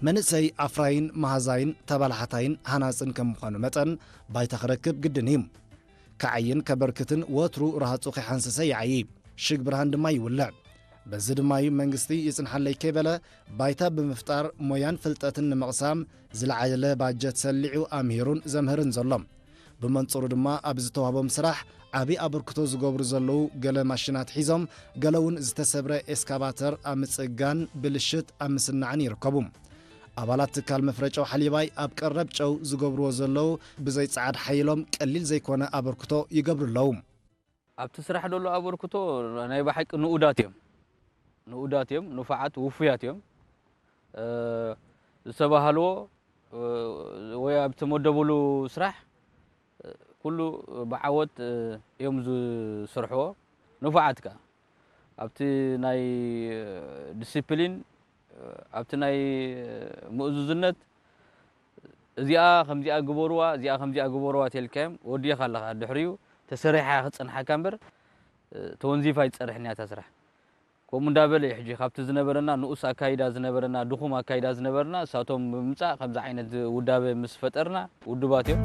መንእሰይ ኣፍራይን መሃዛይን ተባላሓታይን ሃናጽን ከም ምዃኑ መጠን፣ ባይታ ክረክብ ግድን እዩ። ክዓይን ከበርክትን ወትሩ ረሃጹ ከይሓንሰሰ ይዓዪ። ሽግ ብርሃን ድማ ይውልዕ። በዚ ድማ እዩ መንግስቲ ይጽንሓለይ ከይበለ፣ ባይታ ብምፍጣር ሞያን ፍልጠትን ንምቕሳም ዝለዓለ ባጀት ሰሊዑ ኣምሂሩን ዘምህርን ዘሎ። ብመንጽሩ ድማ ኣብ ዝተዋህቦም ስራሕ ዓቢ ኣበርክቶ ዝገብሩ ዘለዉ ገለ ማሽናት ሒዞም፣ ገለ እውን ዝተሰብረ ኤስካቫተር ኣብ ምጽጋን፣ ብልሽት ኣብ ምስናዕን ይርከቡ። ኣባላት ትካል መፍረ ጨው ሓሊባይ ኣብ ቀረብ ጨው ዝገብርዎ ዘለዉ ብዘይ ጸዓድ ሓይሎም ቀሊል ዘይኮነ ኣበርክቶ ይገብሩ ኣለዉ። ኣብቲ ስራሕ ደሎ ኣበርክቶ ናይ ብሓቂ ንኡዳት እዮም። ንኡዳት እዮም፣ ንፉዓት፣ ውፉያት እዮም። እ፣ ዝተባህልዎ፣ እ፣ ወይ ኣብ ተመደብሉ ስራሕ፣ እ፣ ኩሉ ብዓወት፣ እ፣ እዮም ዝሰርሕዎ። ንፉዓት ከኣ ኣብቲ ናይ፣ እ፣ ዲሲፕሊን፣ እ፣ ኣብቲ ናይ፣ እ፣ ምእዙዝነት፣ እዚኣ ከምዚኣ ግበርዋ፣ እዚኣ ከምዚኣ ግበርዋ ተልካዮም ወዲኻ ኣለኻ። ድሕሪኡ ተሰሪሓ ክጸንሓካ እምበር፣ እ፣ ተወንዚፋ ኣይትጸርሕን እያ እታ ስራሕ። ከምኡ እንዳበለ እዩ ሕጂ ካብቲ ዝነበረና ንኡስ ኣካይዳ ዝነበረና፣ ድኹም ኣካይዳ ዝነበረና፣ እሳቶም ብምምጻእ ከምዚ ዓይነት ውዳበ ምስ ፈጠርና ውዱባት እዮም።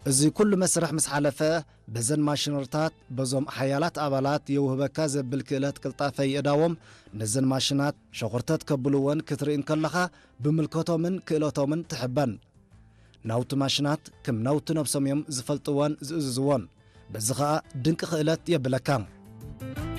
እዚ ኩሉ መስርሕ ምስ ሓለፈ፣ በዘን ማሽነሪታት፣ በዞም ሓያላት ኣባላት የውህበካ ዘብል ክእለት ቅልጣፈ ይእዳዎም፣ ነዘን ማሽናት ሸኹርተት ከብልወን ክትርኢ እንከለኻ፣ ብምልከቶምን ክእለቶምን ትሕበን። ናውቲ ማሽናት ከም ናውቲ ነብሶም እዮም ዝፈልጥዎን ዝእዝዝዎን። በዚ ኸኣ ድንቂ ክእለት የብለካ።